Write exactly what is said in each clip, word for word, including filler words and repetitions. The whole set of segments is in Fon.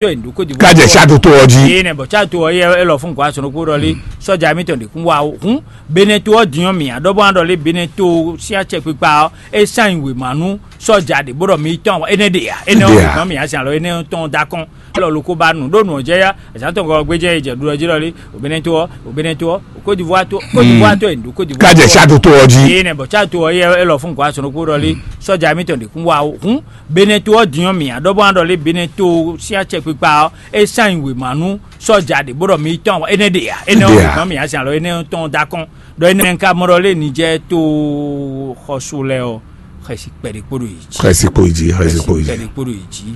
Ká jɛ Tchad to ɔ́ jí. Yé nɛ bɔ Tchad to ɔ́ yɛ é lɔ fún gɔ̌ asɔnukpo ɖɔ lé sɔ́ja mítɔn ɖě kún wá o. Hǔn Benɛto ɔ́ din ɔ́ mǐ ǎ ɖɔ bɔ ná ɖɔ lé Benɛto sín acɛkpikpa ɔ́ é sán nyi wěma nú sɔ́ja ɖě bó ɖɔ mi tɔn énɛ́ ɖe ǎ. Énɛ́ ɔ́ wěma mǐ ǎ sin alɔ énɛ́ tɔn dó akɔn. Lɔ loko ba nǔ ɖó nǔ ɔ́ jɛ yá azǎn tɔn gɔ́ gbéjɛ yi jɛ ɖu ɔ́ jí ɖɔ lé o Benɛto ɔ́ o Benɛto ɔ́ o Côte d'Ivoire to Côte d'Ivoire to e ɖu Côte d'Ivoire. Ká jɛ Tchad to ɔ́ jí. Yé nɛ bɔ Tchad to ɔ́ yɛ é lɔ fún gɔ̌ asɔnukpo ɖɔ lé sɔ́ja mítɔn ɖě kún wá o. Hǔn Benɛto ɔ́ din ɔ́ mǐ ǎ ɖɔ bɔ ná ɖɔ lé Benɛto sín acɛkpikpa ɔ́ é sán nyi wěma nú sɔ́ja ɖě bó ɖɔ mi tɔn énɛ́ ɖe ǎ. Énɛ́ ɔ́ wěma mǐ ǎ sin alɔ énɛ́ tɔn dó akɔn. Ɖɔ énɛ́ ka mɔ ɖɔ lé Nijɛ́ɛ to xɔsu lɛ́ɛ ɔ́ xɛsi kpɛɖé kpó ɖo yě jí. Xɛsi kpó yě jí, xɛsi kpó yí jí. Kpɛɖé kpó ɖo yí jí.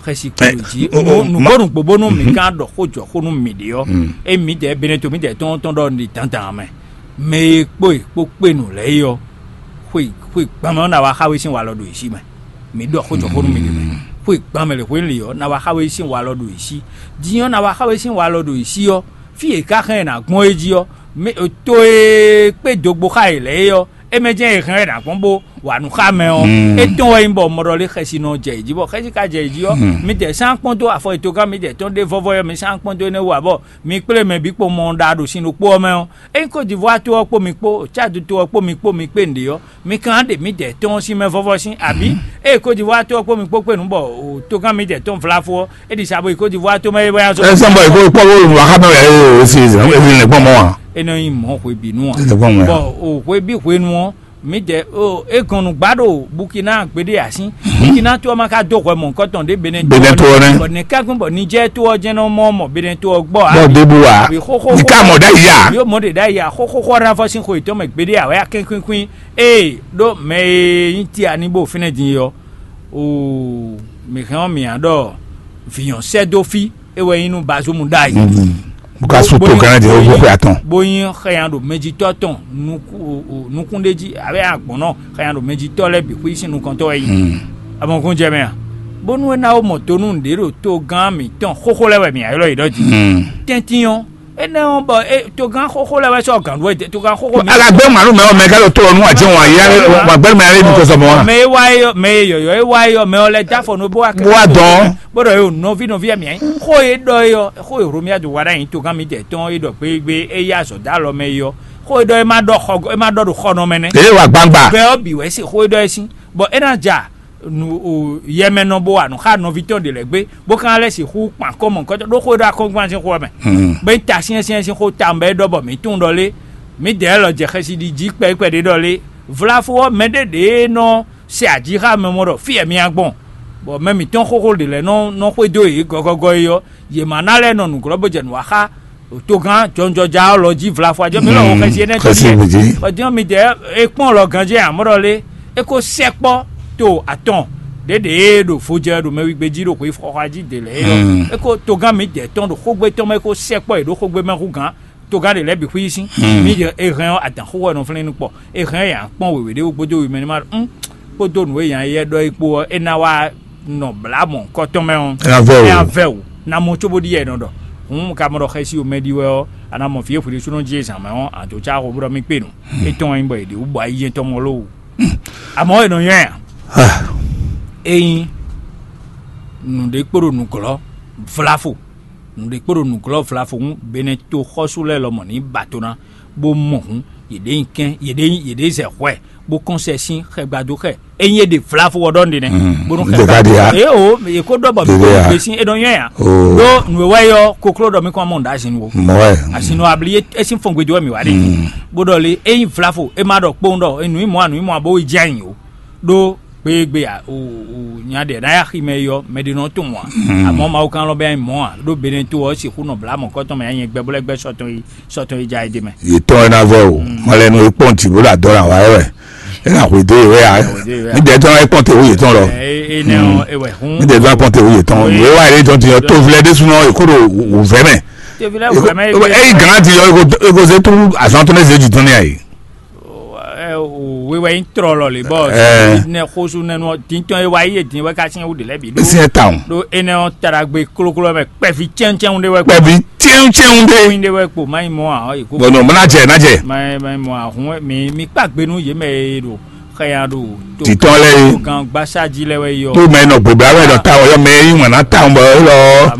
Xɛsi kpó ɖo yí jí. Nǔgbó nǔgbó nú mǐ ká ɖɔ xó jɔ xó nú mǐ ɖe ɔ́, é mǐdɛɛ Benɛto mǐdɛɛ tɔn tɔn ɖɔ ní dandan mɛ. Mɛ e kpó e kpó kpé nǔ lɛ́ɛ é ɔ́, xwe xwe gbɔn mɛ ɔ́ ná wá xá we sín walɔ ɖo yě sí mɛ. Mǐ ɖɔ xó jɔ xó nú mǐ ɖe mɛ. Xwe gbɔn mɛ lě xwé lě ɔ́ ná wá xá we sín walɔ ɖo yě sí. Din ɔ́ ná wá xá we sín walɔ ɖo yě sí ɔ́, fí e ká xɛn ɛ nǎ gbɔn é jí ɔ́, mɛ to e kpé dogbo xá yě lɛ́ɛ é ɔ́, é mɛ jɛ́n è hɛn ɛ nǎ gbɔn bó wa nǔ xá mɛ ɔ́, é tɔn wɛ nyí bɔ mɔɖɔ lé xɛsi nɔ jɛ yě jí, bɔ xɛsi ka jɛ yě jí ɔ́, mi dɛ sán kpɔ́n dó afɔ etogán mi dɛ tɔn ɖé vɔvɔ ɔ́, mi sán kpɔ́n dó énɛ́ wú ǎ, bɔ mi kplé mɛ bǐ kpo mɔ ɖa ɖo sin ɖokpó ɔ́ mɛ ɔ́. Ényí Côte d'Ivoire to ɔ́ kpó mi kpó Tchad to ɔ́ kpó mi kpó mi kpé nǔɖé ɔ́, mi kan ɖe mǐdɛɛ tɔn sín mɛ vɔ́vɔ́ sín abǐ? Ée Côte d'Ivoire to ɔ́ kpó mi kpó kpé nǔ bɔ togán mǐdɛɛ tɔn vlafo ɔ́, é ɖi sa bo yi Côte d'Ivoire to mɛ é bɔ yá zɔ. Ɛ sɔn bɔ ìkó kpɔ́ bó wà xá mɛ wɛ é o sí é lè gbɔn mɔ wa. É nɔ nyí mɔ̌ hwebǐnu ǎ. É lè gbɔn mɔ ya. Bɔ o hwebí hwenu ɔ́, mǐdɛɛ o é gɔn nǔ gbá ɖo Burkina gbeɖé ǎ sín. Burkina to ɔ́ ma ka dó hwɛ mɔ̌hunkɔtɔn ɖě Benin Benin to ɔ́ nɛ́. Bɔ nɛ̌ ká gbɔn bɔ Niger to ɔ́ jɛ́n nɔ mɔ mɔ Benin to ɔ́ gbɔ ǎ. Bɔ ɖěbǔ wa. Àbí xóxó ní ká mɔ ɖ'ayǐ ǎ. Yóò mɔ ɖě ɖ'ayǐ ǎ. Xóxó xɔ ná fɔ sín xo yětɔn mɛ gbeɖé ǎ wɛ akɛ́nkúnkwín. Ee ɖó mɛ e nyí Tiani bó fínɛ́ din é ɔ́, oo mǐ hɛn ɔ́ mǐ ǎ ɖɔ vǐnyɔ́ sɛ́ dó fí é wɛ nyí nú Bazoum ɖ'ayǐ. Bó ka sú to gán ɖě ó bó xwe atɔn. Bó nyí xɛnya ɖo mɛjitɔ́ tɔn nukún ɖé jí abé agbɔ̌nnɔ xɛnya ɖo mɛjitɔ́ lɛ́ɛ bǐ xwí sín nukɔntɔ́ wɛ nyí. Amɔkún jɛ mɛ a? Bónú é ná wó mɔ tonú nǔɖé ɖo togán mǐtɔn xóxó lɛ́ɛ wɛ mǐ ylɔ́ yě ɖɔ jí. Tɛ́ntin ɔ́, énɛ́ ɔ́ bɔ é togán xóxó lɛ́ɛ wɛ sɔ́ gǎn ɖu wɛ togán xóxó mi. Ala gbé màlúù mɛ ɔmɛ ká lọ tó ɔnú àti wọn àyà wà gbẹrù mɛ alẹ nìkan sọmọ wa. Mɛ e wá yɔ mɛ e yɔyɔ e wá yɔ mɛ ɔ lɛ dá fɔ nú bó wá kɛ. Bó wá dán. Bó ɖɔ yóò nɔví nɔví ɛmí ɛ xó e ɖɔ e ɔ xó e Romia do wa ɖ'ayǐ togán mi jɛ tɔn e ɖɔ gbégbé e yí azɔ dó alɔ mɛ e ɔ xó e ɖɔ e ma ɖɔ xɔ e ma ɖɔ ɖo xɔ nɔ mɛ nɛ. Èyí wà gbangba. Bɛ ɔ bǐ wɛ se xó e ɖɔ e sín bɔ é ná ja nu o yɛmɛnɔ bó wa nǔ xá nɔví tɔn ɖe lɛ́ gbé bó ka lɛ́ sixú kpan kɔmɔ kɔtɔ ɖó xó e ɖɔ akɔ́nkpan sín xó ɔ́ mɛ. Bó nyí ta syɛ́nsyɛ́n sín xó tawun bɔ é ɖɔ bɔ mǐ tunwun ɖɔ lé mǐdɛɛ lɔ jɛ xɛsi ɖi jí kpɛɖé kpɛɖé ɖɔ lé vlafo ɔ́ mɛɖé ɖě nɔ se aji xá mɛ mɔ ɖɔ fí ɛ mía gbɔn bɔ mɛ mǐtɔn xóxó ɖě lɛ́ɛ nɔ nɔ xwedó yě gɔgɔgɔ é ɔ́, yě ma ná lɛ́ nɔ nǔglɔ́ bó jɛ nǔ wa xá togán jɔnjɔja ɔ́ lɔ jí vlafo ajɔ mi lɔ wo xɛsi énɛ́ tɔn Xɛsi jí bó jí. Ɔdín mi dɛ é kpɔ́n lɔ ganjé amɔ́ ɖɔ lé é kó sɛkpɔ́ to atɔn ɖěɖě e ɖo vo jɛ ɖo mɛwígbé jí ɖo xweyíxɔxɔa jí dě lɛ́ɛ é ɔ́ é kó togán mi dɛ tɔn ɖo xógbé tɔn mɛ é kó sɛkpɔ́ yě ɖó xógbé mɛ hú gán togán ɖě lɛ́ɛ bǐ xwí sín mi dɛ é hɛn ɔ́ adǎn xóxó ɛ nɔ flɛ́n nú kpɔ é hɛn ɛ yǎ kpɔ́n wěwé ɖé wú gbódó wimɛ ní ma ɖɔ kpódó nǔ e nya yɛ ɖɔ é kpó ɔ́ é ná wá nɔ blǎ mɔ̌hunkɔtɔn mɛ ɔ́, É ná vɛ o. É ná vɛ o. Ná mɔ cóbó ɖi yɛ nɔ ɖɔ. Hǔn ka mɔ ɖɔ xɛsi o mɛ ɖi wɛ ɔ́, a nǎ mɔ vǐ e hwǐ ɖésúnɔ jí e zǎn mɛ ɔ́, a dǒ cá xo bó ɖɔ mì kpé nǔ. Étɔn wɛ nyí bɔ è ɖě wú bɔ ayíjɛ́n tɔn mɔ lówu. Amɔ̌ è nɔ nywɛ́ ǎ. Ényí nǔɖé kpo ɖo nǔglɔ́ vlafo, nǔɖé kpo ɖo nǔglɔ́ vlafo hǔn Benɛto xɔ́sú lɛ́ɛ lɔmɔ̌ ní ba to ná, bó mɔ hǔn, yě ɖě nyi kɛ́n, yě ɖě nyi, yě ɖě zɛ hwɛ, bó kɔn sɛ sín xɛgbadó xɛ. Ényí è ɖe vlavo ɔ́ ɖɔ nɖé nɛ́, bónú xɛ Ɖeka ɖe ya. Eye o, yě ko ɖɔ bɔ Ɖeka ya. Gbèsè éɖo nyɔ́ ya. Oo. Ɖó nǔ e wɛ yɔ kokló ɖɔ mí kɔn mɔ nǔ ɖo azin wo. Mɔ wɛ. Azin nɔ abli é sín fɔngbe dó wɛ mǐ wá ɖe. Bó ɖɔ lé, ényí vlavo, é má ɖɔ kpóun ɖɔ, nǔ yi mɔ a, nǔ yi mɔ a, bó yi jɛ anyi o. Ɖó gbégbé a, o, o, nya ɖe ná ya xi mɛ yɔ, mɛ ɖé nɔ tunwun a. Àmọ́ Mawu kan lɔ bɛ anyi mɔ a, ɖó Benɛto ɔ́ sixú nɔ bla mɔ̌kɔtɔn mɛ anyi gbɛ bó lɛ́ gbɛ sɔtɔn yi, sɔtɔn yi ja yi ɖe mɛ. Yětɔn ɛ ná vɛ o, malɛnu e kpɔn jǐ bó ɖo adɔ ná wa ɛ wɛ. É ná hwedó yě wɛ a. Hwedó yě wɛ a. Mí dɛɛ tɔn ɛ kpɔn te wú yětɔn lɔ. Ɛ, ɛ, ɛ, nɛ ɔ, ewɛ hún. Mí dɛɛ tɔn ɛ kpɔn te wú yětɔn. Wé wá yě tɔn ti yɔ tó vilɛ ɖésú nɔ èkó ɖo wǔvɛ mɛ. Tó vilɛ wǔvɛ mɛ. Èyí gàn ti yɔ èkó zé tó azɔn tó ne zé jù tɔn ní àyè. Ɛ, o, wé wɛ nyí trɔ lɔ lě bɔ. Ɛ. Nɛ xosu nɛnu ɔ, dintɔn e wa yi e din wɛ ka sinyɛn wú ɖe lɛ bi ɖó. Sinyɛn tawun. Ɖó enɛ ɔ taɖagbe kloklo mɛ kpɛvi cɛncɛn ɖe wɛ. Kpɛvi tiɛntiɛn ɖe. Kóyin ɖe wɛ kpo mayi mɔ a ɔ yi ko. Bɔn nɔ mɔ na jɛ na jɛ. Mayi mayi mɔ ahun mi mi kpa gbe nú yě mɛ e ɖo xɛya ɖo. Titɔn lɛ ye. Gan gbasa ji lɛ wɛ yɔ. Tó mɛ nɔ gbogbo awɛ dɔ ta wɔ yɔ mɛ yi ŋmɛ na ta wɔ bɔ e lɔ.